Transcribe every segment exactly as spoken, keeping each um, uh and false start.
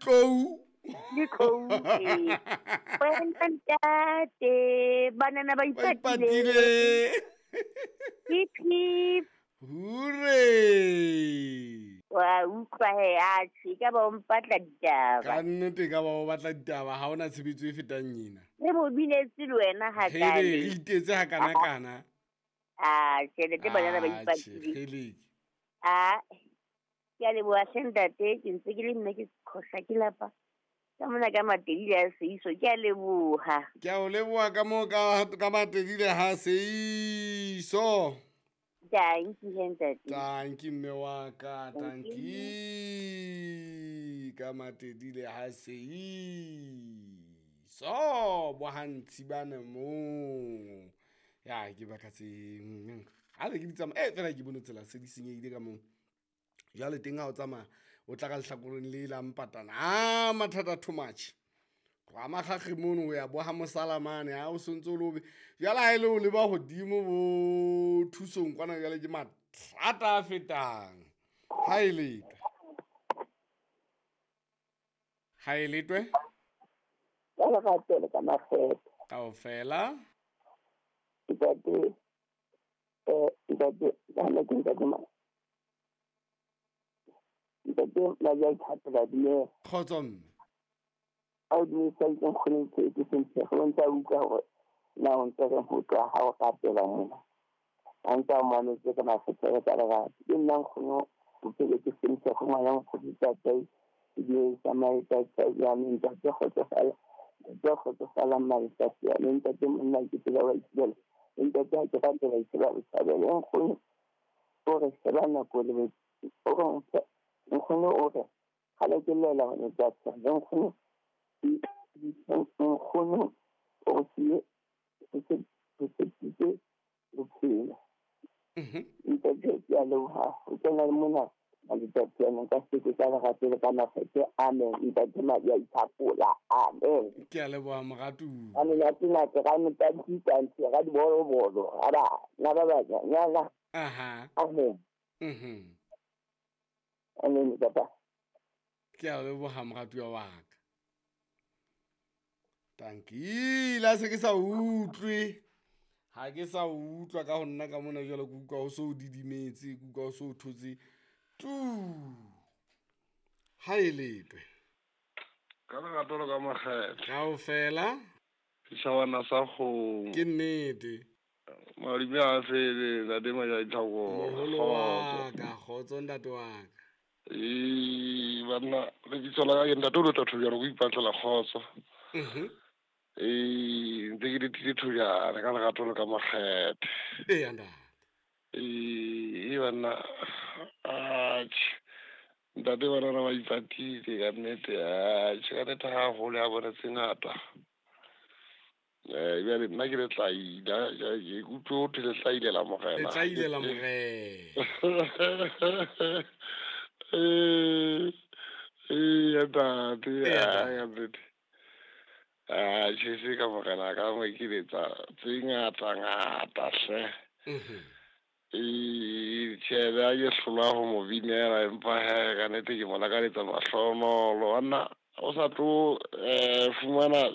Tlou Le tlou ee. Wena ntate, banana ba ba ipatile. ipatile. Hip hip. Hore Wa utlwa he, atjhe, e ka ba o mpatla ditaba. Ka nnete ka ba o batla ditaba, ha hona tshebetso e fetang ena. Re mo binetse le wena Hele, re hakale. itetse hakanakana. Ah, tjhelete banana ba Atjhe, ipatile. kgeleke. Ah, ke a leboha hle ntate, ke ntse ke le nna ke qhosha ke lapa. Ka mona ka Matedile a Seiso, ke a leboha. Ke a o leboha ka moo ka ka Matedile ha Seiso. Tanki he ntate. Tanki mme wa ka, tanki ka Matedile ha Seiso. Bo ha Ntshibane moo. Ya ke baka tse ha le ke di tsamaya, eh fela ke bone tsela se di senyehile ka moo. Jwale teng ha o tsamaya o tla ka lehlakoreng le la mpatana. Ah, mathata too much. Tloha Makgakge mono ho ya bo ha Mosalamane, ha o sontso o le obe. Jwale ha e le o leba hodimo bo thusong kwana, jwale ke mathata a fetang. Ha e letwe. Ha e letwe? Ka lerato le ka makgetho. Kaofela. Ntate, eh, ntate, ntate, ntate, ntate, ntate, Majaithato dumela. Kgotso mme. A o dumedisa ke nkgono ke ke Sentshego, o ntse a utlwa hore na o ntse re ho tloha ha o rapela mona. A ntse a mametse ka makgetho ka lerato. Ke nna nkgono o phele ke Sentshego, ngwana nkgono ntate, ebile tsamaya ya me ntate kgotsofala. Ntate kgotsofala matsatsi a me ntate monna ke tsela wa itshela. Ntate ha ke rate ba itshela botshabelo. Nkgono o re sheba nako le bo- o re mphe- nkgono o re kgale ke llela ho ntate. Nkgono nkgono o re siye o se- o tshepisitse bophelo. Mhm. Ntate ke a leboha ho kena le mona maletsatsi a nka se ke ka lerato le ka makgethe. Amen. Ntate Madi a ithapola. Amen. Ke a leboha moratuwa. Ka menate-nate, ka metantitante, ka dibolobolo, ga bana ba banyanyana. Aha. Amen. Mhm. Amen, papa. Ke a leboha moratuwa wa ka. Tanki, la se ke sa utlwe. Ha ke sa utlwa ka ho nna ka mona jwale, ke utlwa ho so didimetse, ke utlwa ho so thotse tu. Ha e letwe. Ka lerato le ka makgetho. Kaofela. Setjhabana sa kgomo. Ke nnete. Madume a fele, ntate Majaithapo. Moholo wa ka, kgotso ntate wa ka. Ee, banna, lebitso la ka ke ntate o lota Thobjana, ko ipatlela kgotso. Mhm. Ee, ntse ke letile Thobjana ka lerato le ka makgethe. Eya ntate. Ee, banna, atjhe. Ntate banana ba ipatile ka nnete, atjhe, ka nnete haholo ya bona tse ngata. Eh, jwale nna ke letlaila, ke utlwe ho thwe letlaile la morena. Letlaile la morena. Eh, eh, ntate, Eya, ah, ka nnete. Atjhe, se ka morena ka mo ke letsa tse ngata ngata hle. Mhm. Ee, tjhe, ha ke hlolwa ho mo binela, empa he, ka nnete ke mo lakaletsa mahlohonolo. Banna, o sa tlo, eh, fumana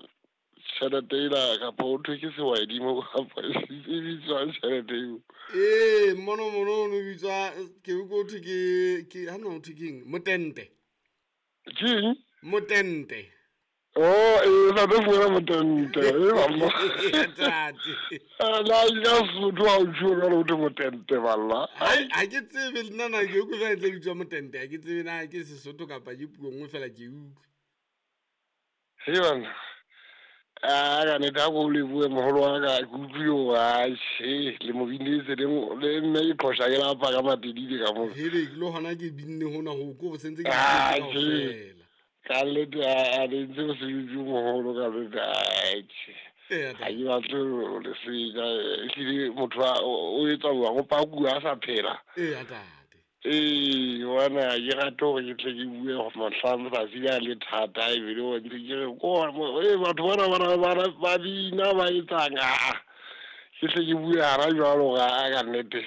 tjhelete ena kapa ho thwe ke sehwaedimo kapa e bitswang tjhelete eo? Ee, mono mono o no bitswa, ke utlwe ho thwe ke, ke, ha no ho thwe keng? Motente. Keng? Motente. Oh, ee, o sa tlo fumana motente. Ee, banna. Ntate. La ka Sotho ha o tjho jwalo ho thwe motente, banna. Ha, ha ke tsebe le nna na ke utlwe jwale e tla bitswa motente, ha ke tsebe na ke Sesotho kapa ke puo nngwe fela ke utlwe. Hei banna. Ah, ka nnete ha ko lebohe moholo wa ka, ke utlwile hore atjhe, le mo binetse le mo-, le mme ke qhosha ke lapa ka Matedile ka mona. Hele, ke lo hona ke binne hona ho, ke hore sentse ke Ah, binne tjhe. kaofela. Ka nnete, ah, le ntse mosebetsi o moholo ka nnete, atjhe. Eya, Ha ke batle ho le senya, ehlile motho a, o, o etsa jwang, o pakuwa a sa phela. Eya, ntate. Ee, bona ke rate hore ke tle ke bue mohlang letsatsi le a le thata, ebile o ntse ke re, ko, ee, batho bana ba na, ba na, ba bina, ba etsang, ah, ke tle ke bue hana jwalo hore, ah, ka nnete,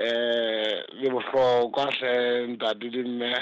eh, le bohlokwa hle, ntate le mme.